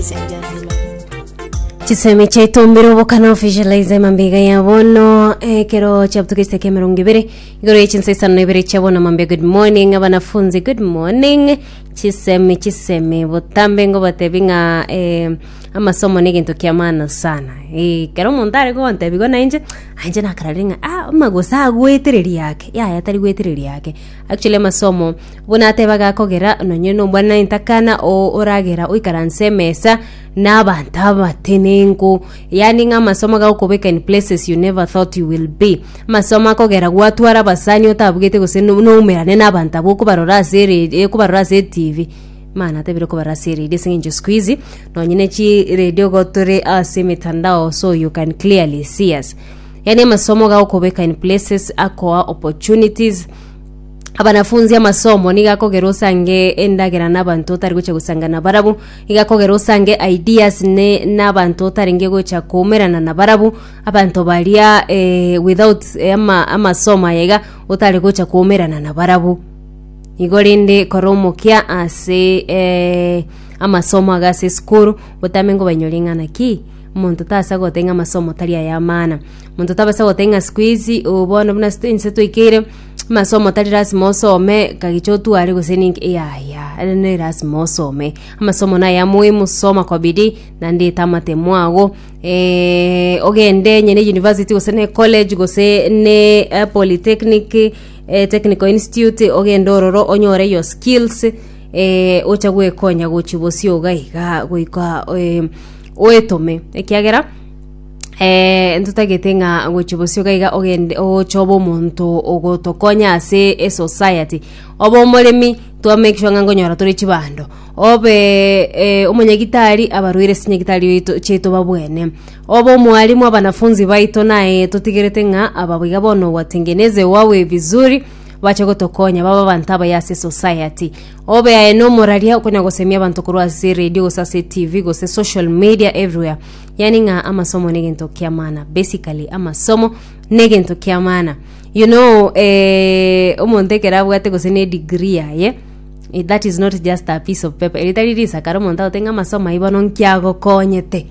Ladies and gentlemen. Chisemi chiaito mbire obokana officialize mambega ya bono ekero chiabutuka chiseke emerongo ibere igoro ye chinsa isano na ibere chia bono mambia good morning abanafunzi good morning chisemi chisemi botambe ngobatebi ng'a eh, amasomo na egento kia maana sana eh, ekero omonto are gontebi igo nainche inche nakararire ng'a ah amagoso agwetereria ake yaya tari gwetereria ake Actually amasomo buna ateba gakogera nonye nomwana entakana o- oragera oikaranse emesa na abanto abatenenku yaani ng'a amasomo gagokobeka in places you never thought you will be. Amasomo akogera gwatwara abasani otabugete gose no- noumerane na abanto abwo okobarora ase eredio okobarora ase etv maana atebire okobarora ase eredio ase eng'encho siku hizi nonye ne chiredio igo tore ase emitandao so you can clearly see us. Yaani amasomo gagokobeka in places akoa opportunities abanafunzi amasomo nigo akogera osange endagera na abanto otari gocha gosanga nabarabwo, nigo akogera osange ideas ne na abanto otarenge gocha koumerana nabarabwo, abanto baria without ama amasomo aya iga otare gocha koumerana nabarabwo. Igo rende kora omokia ase amasomo iga ase esukuru, otame ngobainyore ng'a naki. Omonto tasa goteba ng'a amasomo tari aya amana. Omonto tabasa goteba ng'a siku hizi oo bono buna ase inse twaikeire, amasomo tari lasima osome kagicha otware gose ninki yaya, ere ne lasima osome. Amasomo naya muhimu, soma kwa bidii, naende eta amatemo ago, ogende onye ne university gose ne college gose ne polytechnic, technical institute, ogende ororo onyore your skills, ocha gwekonya gochia bosio iga iga goika. Oetome, ekiagera ntotagete ng'a gochia bosio iga iga ogende oche obe omonto ogotokonya ase esociety. Obe omoremi, twa make sure ng'a nkonyora tore chibando, obe omonyagitari abarwaire ase chinyagitari oito chiaito babwene, obe omwalimu abanafunzi baito naye totigerete ng'a aba iga bono watengeneze wawe vizuri, bache gotokonya babe abanto abaya ase esociety. Obe aye nomoraria okonya gosemia abanto korwa ase radio gose ase TV gose social media everywhere. Yaani ng'a amasomo negento kia maana. Basically amasomo negento kia maana. You know eh, omonto ekero abwate gose ne degree yaye eh, that is not just a piece of paper. Eri tari risakara omonto agote ng'a amasomo ayio bono nki agokonyete.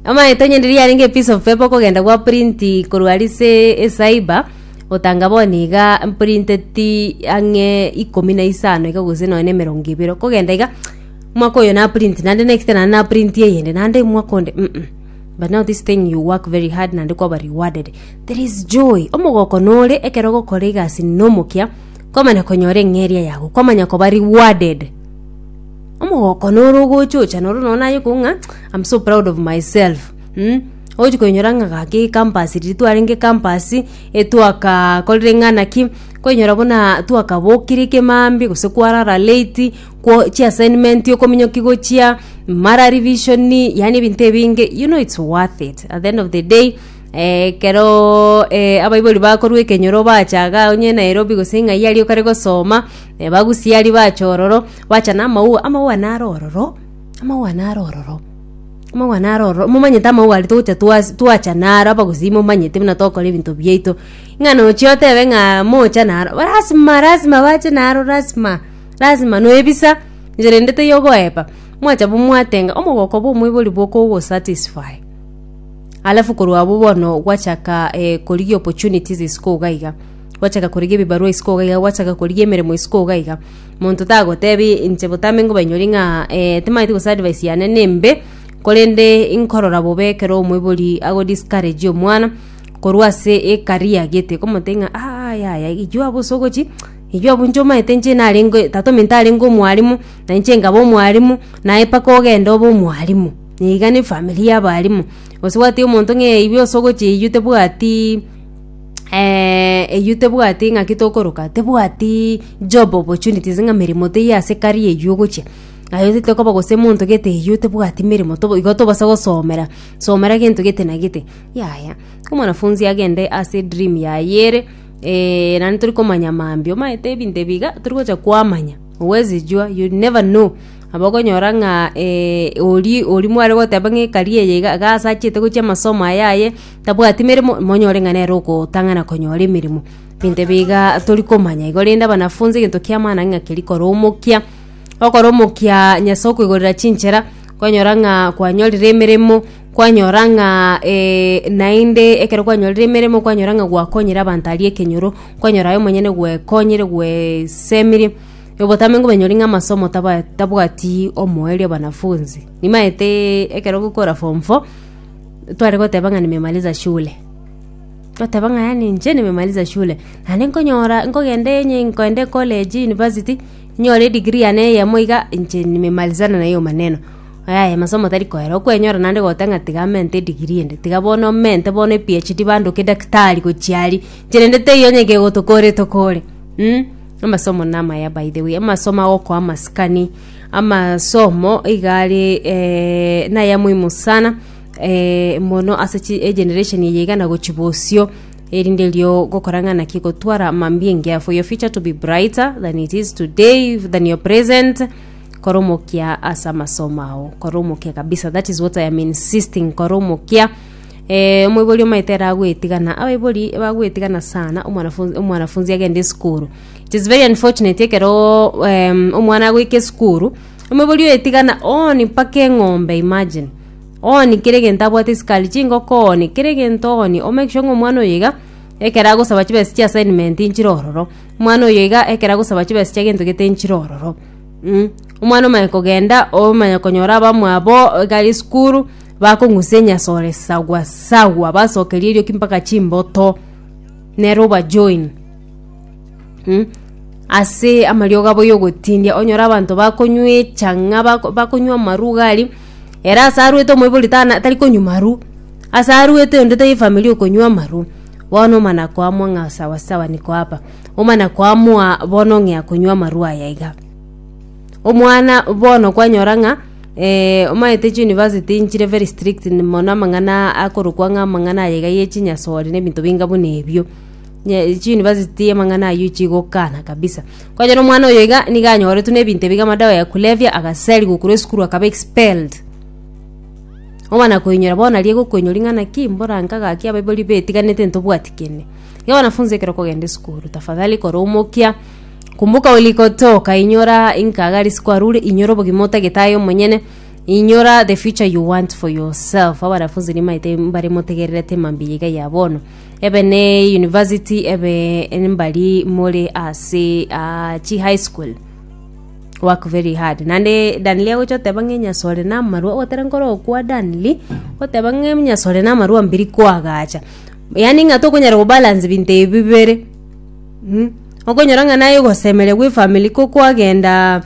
Omanyete onye riria yarenge epiece of paper okogenda gwa print korwa aria ase ecyber. Gotanga bono iga mprinteti ang'e ikomi na isano iga gose nonya na emerongo ebere, okogenda iga, omwaka oyo na print naende next naende na print eyende naende omwaka onde mh, but now this thing you work very hard naende kwaba rewarded. There is joy, omogoko nore ekero ogokora egasi na omokia, kwamanya konyora eng'eria yago, kwamanya koba rewarded. Omogoko noro ogocha ocha noro nonye naye okobua ng'a I'm so proud of myself. Ogochia koinyora ng'a gaki campus riria twarenge campus, etwakakorire ng'a naki, koinyora buna twakabokire ekemambia gose kwarara late, kwo chiassignment okominyokia gochia, mara revision, yaani ebinto ebinge, you know it's worth it. At the end of the day, ekeroooo abaibori bakorwa ekenyoro bacha igaa onye Nairobi gose ng'ai aria okare gosoma, bagusia aria bacha ororo, bacha na amaua, amaua naro ororo, amaua naro ororo. Amauga naro ororo, momanyete amauga aria togocha twas twacha naro abagusii momanyete buna togokora ebinto biaito, ng'a nochia otebe ng'a mocha naro, lasima lasima bache naro lasima, lasima noebisa, nchera ende teiyo ogoepa, mwacha bo mwatenga, omogoko bwa omoibori bokogosatisfy. Alafu korwa abwo bono gwachaka korigia opportunities isiko iga iga, gwachaka korigia ebibarua isiko iga iga, gwachaka korigia emeremo isiko iga iga. Monto tagotebi inche botambe nkobainyori ng'a timanyeti gose advice yane nembe, korende nkorora bobe ekero omoibori ago discourage omwana, korwa ase ecareer gete, komotebia ng'a aa yaya eywo abwo ase ogochi, eywo abwo inche omanyete inche narenge tata ominto arenge omwalimu, na inche nkaba omwalimu, naye mpaka ogende obe omwalimu, iga ne efamiri ya abalimu. Gose gwatebia omonto ng'a eywo ase ogochia eywo tebwatiii. Eyio tebwati ng'aki tokoroka, tebwati job opportunities ng'a meremo teiyo ase career eyio ogochia. Aye otete koba gose monto gete eyio tebwati meremo tobo igo tobasa gosomera, somera gento gete na gete, yaya. Omwanafunzi agende ase edream yaye ere, naende tori komanya mambia, omanyete ebinto ebi iga, tori gocha kwamanya, huwezi jua, you never know. Nabo okonyora ng'a oria oria mware goteba ng'a ecareer eye iga iga ase achiete gochia amasomo aya aye. Tabwati meremo, monyore ng'a nere ogotang'ana konyora emeremo. Ebinto ebi iga tori komanya. Igo rende abanafunzi egento kia maana ng'a keria kora omokia, okore omokia Nyasae okoigorera chinchera, Kwanyora ng'a kwanyorire emeremo, kwanyora ng'a naende ekero kwanyorire emeremo kwanyora ng'a gwakonyire abanto aria ekenyoro, kwanyora aye omonyene gwekonyire gwesemire, obotambe nkobenyori ng'a amasomo taba tabwati omoerio wanafunzi. Nimaeteee ekero ogokora form four, tware goteba ng'a nimemaliza shule, twateba ng'a yaani inche nimemaliza shule, naende nkonyora nkogenda enye nkoenda ecollege, university, Nyore edegree yane eyemo iga, inche nimemalizana na hiyo maneno. Yaya masomo tari koera, okwenyora naende goteba ng'a tiga amente edegree ende, tiga bono mente bono ePhD bandoke daktari gochia aria, inche rende teiyo onye kegotokora etokore mh. Amasomo namaya by the way, amasomo agokoa amasikani, amasomo iga are naya muhimu sana mono ase chi egeneration eye iga na gochia bosio. Erinde erio gokora ng'a naki gotwara mambia engiya for your future to be brighter than it is today than your present kora omokia ase amasomo ao kora omokia kabisa that is what I am insisting kora omokia eh, omoibori omaete ere agwetigana abaibori bagwetigana sana omwanafunzi omwanafunzi agende esukuru it is very unfortunate ekero em, omwana agoika esukuru omoibori oetigana oni mpaka eng'ombe imagine Ooni kera egento abwate esukari, chingoko ooni, kera egento ooni, o make sure ng'a omwana oyo iga, ekero agosaba chibesa chia assignment nchire ororo, omwana oyo iga ekero agosaba chibesa chia gento gete nchire ororo mh. Omwana omanye kogenda, omanye konyora abamwabo iga are esukuru, bakong'usa enyasore sawa sawa, basokeria erioki mpaka chimboto, nere obajoin mh. Ase amariogo abo y'ogotindia, onyore abanto bakonywa echang'a bako bakonywa amarwa iga aria, ere ase arwete omoibori tana tari konywa marwa, ase arwete onde taiyo efamiri okonywa amarwa, bono omana koamua ng'a sawa sawa niko hapa, omana koamua bono ng'ea konywa amarwa aya iga. Omwana bono kwanyora ng'a omanyete chiuniversity nchire very strict mono amang'ana akorokwa ng'a amang'ana aya iga ya echinyasore na ebinto binga buna ebio. Nye chiuniversity amang'ana aywo chigokana kabisa. Kwanyora omwana oyo iga nigo anyoretwe na ebinto ebi iga amadawa ya kulevya agaserigwa korwa esukuru akaba expelled. Omana koinyora bono aria egokoinyori ng'a naki mbora nka gaki abaibori betiganete ntobwati kende. Iga wanafunzi ekero okogenda esukuru tafadhali kora omokia, kumbuka ulikotoka inyora inka iga risiko arure inyora obogima otagete aye omonyene, inyora the future you want for yourself. Abanafunzi nimaete mbare motegererete mambia iga ya bono. Ebe ne university ebe mbari more ase ah, chi high school work very hard naende Danly agocha oteba ng'a enyasore na amarwa ogotera nkoro okwa Danly oteba ng'a enyasore na amarwa mbiri koagacha yaani ng'a tokonyara kobalance binto ebi bibere mh, okonyora ng'a naye ogosemeria bwa efamiri ko kwagenda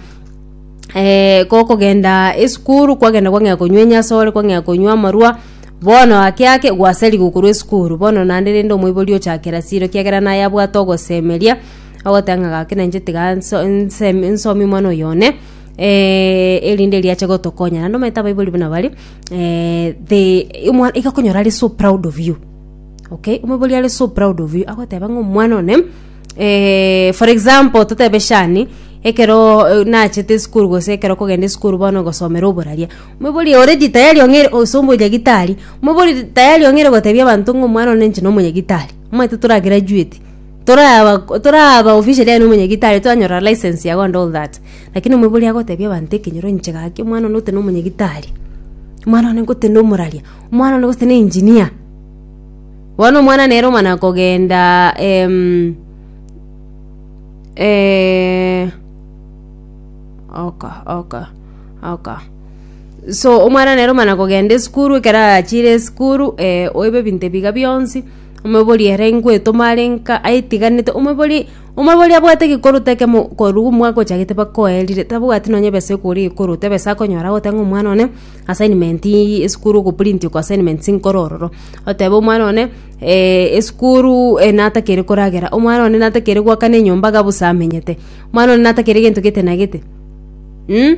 gokogenda esukuru kwagenda kwang'ea konywa enyasore kwang'ea konywa amarwa. Bono ake ake gwaserigwe korwa esukuru, bono naende rende omoibori ochakera siro ekiagera naye abwate ogosemeria, ogoteba ng'a gaki nainche tiga nso nsemi nsomie omwana oyo one, erinde erio ache gotokonya. Naende omanyete abaibori buna bare, they omwana iga okonyora are so proud of you, okay, omoibori are so proud of you, agoteba ng'a omwana one for example totebe Shani, ekero nachete esukuru gose ekero okogenda esukuru bono gosomera oboraria, Moibori already tayari ong'eire ase omonyagitari, moibori tayari ong'eire gotebia abanto ng'a omwana one inche nomonyagitari, omanyete tora graduate, toraba toraba officially aye nomonyagitari toranyora license yago and all that. Lakini omoibori agotebia abanto ekenyoro inche gaki omwana one gose nomonyagitari, omwana one gose nomoraria, omwana one gose ne engineer. Bono omwana nere omana kogenda okay okay okay. So omwana nere omana kogenda esukuru ekero achire esukuru oibe ebinto ebi iga bionsi, omoibori ere ngoetoma are nka aetiganete omoibori omoibori abwate egekoroto ekemo korwa omwaka ochagete mpaka oerire tabwati nonye ebesa ekogora egekoroto ebesa akonyora agoteba ng'a omwana one assignment esukuru ogo print oko assignments nkore ororo, otebe omwana one esukuru natakeire koragera, omwana one natakeire goakana enyomba iga bosa amenyete, omwana one natakeire egento gete na gete mh.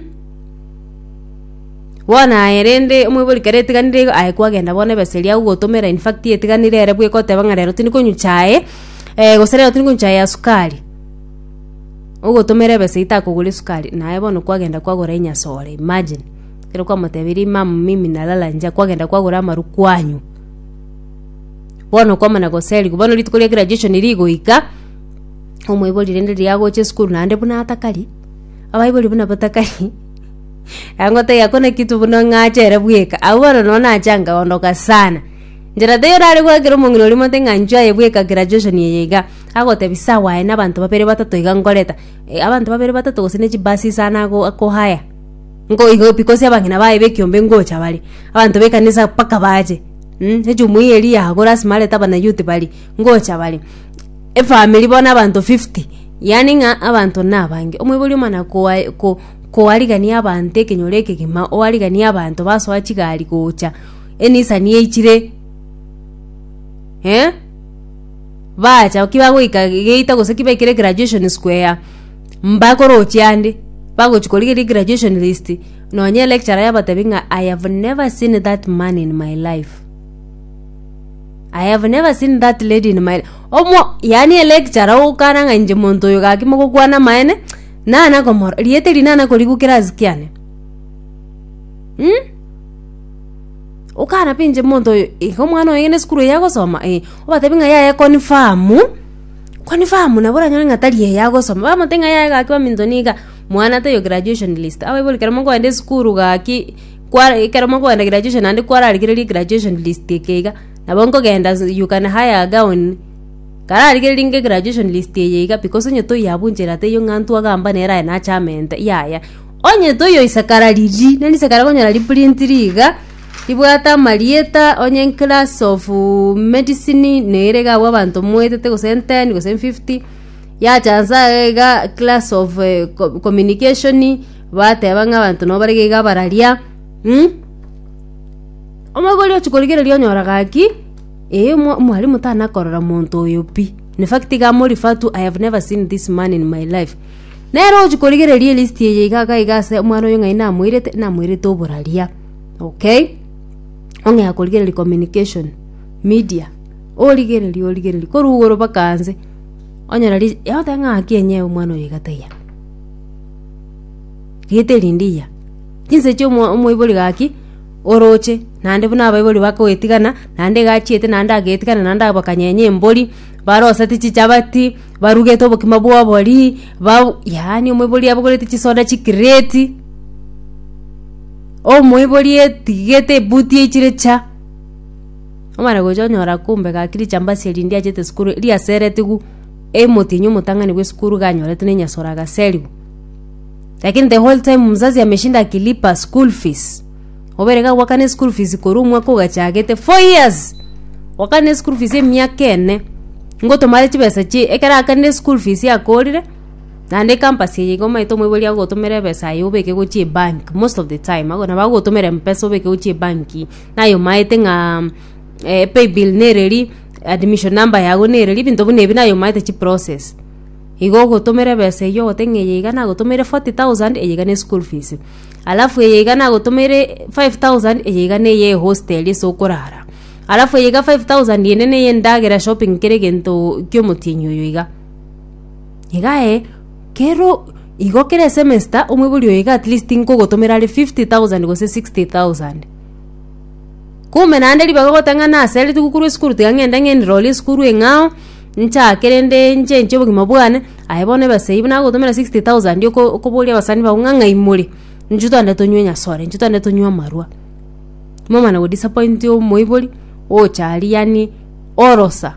Bono aye rende omoibori kere etiganire igo aye kwagenda bono ebesa eria agogotomera in fact etiganire ere bweka oteba ng'a rero tindi konywa chae, gose rero tindi konywa chae ya sukari, ogotomera ebesa eywo takogora esukari, naye bono kwagenda kwagora enyasore imagine, ekero kwamotebirie mum mimi nalala njaa kwagenda kwagora amarwa kwanywa. Bono kwamana goserigwa, bono rituko ria graduation rigoika, omoibori rende riria agocha esukuru naende buna atakari, abaibori buna batakari. Angotebia hakuna kitu buna ng'ache ere bweka. Abwo bono noo nacha nkaondoka sana. Nchera teiyo nare goakera omong'ina oria mote ng'a inchuo aye bweka graduation eye iga. Agotebi sawa aye na abanto babere batato iga nkoreta. Abanto babere batato gose ne chibasi isano ago akohire. Nko igo because abang'ina baye ba ekiombe ngocha bare, abanto ba ekanisa mpaka bache ejumuiya eria yago lasima arete abanayouth baria, ngocha bare. Efamiri bono abanto 50, yaani ng'a abanto na abange. Omoibori omana koa ko koarigania abanto ekenyoro ekegima, oariganie abanto basoa chigari gocha, enisani eichire eh, bacha ki bagoika geita gose ki baikire graduation square, mbakorochia ande, bagochi korigereria graduation list, nonye electurer yabatebia ng'a I have never seen that man in my life. I have never seen that lady in my omo yaani electurer ogokana ng'a inche monto oyo gaki mogokwana amaene, nana komora rieta eri nana korigwa class kiane mh. Okana pi inche monto oyo iga omwana oyo na esukuru eye agosoma eh, obatebie ng'a yaya confirm, confirm nabo oranyore ng'a tari eye agosoma, bamotebia ng'a yaya gaki baminto niga, mwana taiyo graduation list, abaibori ekero mokoenda esukuru gaki. Kware ekero mokoenda graduation naende kwararigereria graduation list eke iga, nabo nkogenda ase you can hire a gown, kararigereria inge graduation list eye iga because onye toiyo abwo nchera teiyo ng'a ntwagamba nere aye nache amente yaya. Onye toiyo isakara riria, nari isakara okonyora riprintiri iga, ribwate amarieta onye class of medicine nere iga abwo abanto moetete gose 10 gose 50, yacha nse iga iga class of co- communication. Bateba ng'a abanto nabo bare iga abararia, mh. Omoibori ochia korigereria onyora gaki, eh omo omwalimu tana korora monto oyo pi. In fact iga amo refer to I have never seen this man in my life. Nere ochia korigereria elist eye iga iga iga ase omwana oyo ng'ai namoirete, namoirete oboraria, okay. Ong'ea korigereria communication, media, origereria origereria korwa igoro mpaka nse, onyora ri ogoteba ng'a ng'aki enyewe omwana oyo iga taiyo. Rieta eri ndiya, chinsa echio omo omoibori gaki, oroche, naende buna abaibori bakoetigana, naende iga achiete naende agetigana naende bakanyenya embori, baroseti chichabati, barugete obokima bwa obori, ba yaani omoibori abogoreti chisoda chikireti, omoibori etigete ebuti eichire cha, omana gocha onyora kumbe gaki richambasi eri ndiachete esukuru riaseretigwe. Emotienyi omotang'ani bw'esukuru iga anyoretwe na enyasore agaserigwa. Lakini the whole time mzazi ameshinda akilipa school fees. Obere iga gwakana eschool fees korwa omwaka ogachagete 4 years. Gwakana eschool fees emiaka ene. Ngotomare chibesa chi ekero akanire school fees akorire, naende ecampus eye iga omanyete omoibori agogotomera ebesa aye obeke gochia ebank most of the time nabo agogotomera mpesa obeke gochia ebanki, naye omaete ng'a paybill nereri. Admission number yago nere riria ebinto buna ebi naye omaete chiprocess. Igo ogotomera ebesa eywo ogote ng'a eye iga nagotomeire 40,000 eye iga ne school fees. Alafu eye iga nagotomeire 5000 eye iga na eye ehostel ase okorara. Alafu eye iga 5000 ende na eye endagera shopping kera egento kia omotienyi oyo iga. Iga aye, kero igo kera esemester omoibori oyo iga at least nkogotomera are 50,000 gose 60,000. Kumbe naende ribaga ogoteba ng'a nasereti gokorwa esukuru tiga ng'ende ng'enroll esukuru eng'ao, nchake rende nchenche obogima bwane, aye bono ebesa eywo buna agotomera 60,000 oko okoboria abasani bago ng'a ng'ai more, inchuo togende tonywe enyasore, inchuo togende tonywe amarwa. Momana godisappoint omoibori, ocha aria yaani orosa.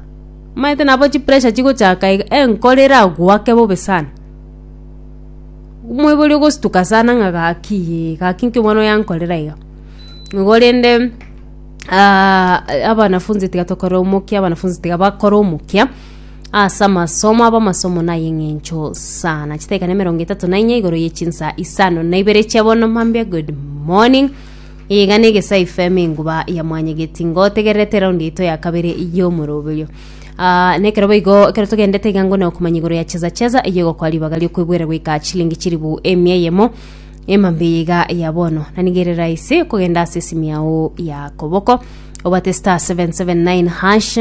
Omanyete nabo chipressure chigochaka iga, enkoro eragoake bobe sana. Omoibori ogostuka sana ng'a gaki yee, gaki nki omwana oyo ankorera iga. Igo rende abanafunzi tiga tokore omokia, abanafunzi tiga bakore omokia ase amasomo abo amasomo naye eng'encho sana. Chidakika na emerongo etato na inye igoro ye chinsa isano na ibere chia bono mambia good morning. Iga na Egesae FM enguba ya mwanyegeti ngotegererete eraundi yaito ya kabere y'omoroberio. Ah, nekero boigo ekero togendete iga ngone okomanya igoro ya cheza cheza eyio egokoa ribaga riokoigwera goika chilingi chiribu emia eyemo Emambia eye iga ya bono, na nigo ere rahisi kogenda ase esimi yao ya koboko obate star 779 hash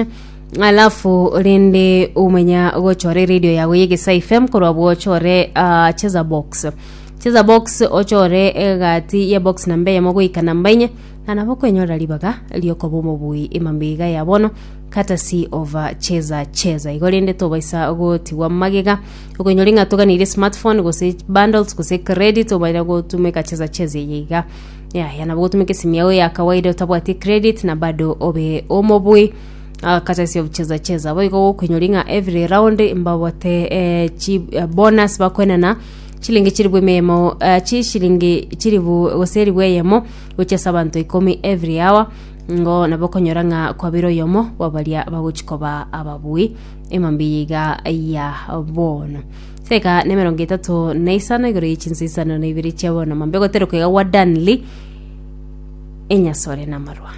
alafu rende omenya gochora eradio yago ya Egesae FM korwa abwo ochore ah, cheza box. Cheza box ochore egati ye box namba eyemo goika namba inye na nabo okwenyorera ribaga riokoba omobui emambia iga ya bono courtesy of cheza cheza. Igo rende tobaisa gotigwa magega okoinyora ng'a toganeirie smartphone gose bundles gose credit obaire gotumeka cheza cheza eye iga. Yaya nabo gotumeka esimi yao ya kawaida otabwati credit na bado obe omobui ah, courtesy of cheza cheza. Boigo gokoinyora ng'a every round mbabwate eh, chi eh, bonus bakoenana chilingi chilifu eyemo eh, chishilingi chilifu gose elifu eyemo gochia ase abanto ikomi every hour ngo nabo okonyora ng'a kwabire oyomo bwa baria bagochi koba ababui emambia eye iga ya bono. Seka na emerongo etato na isano igoro ye chinsa isano na ibere chia bono mambia ogoterekwa iga gwa Danly enyasore na amarwa.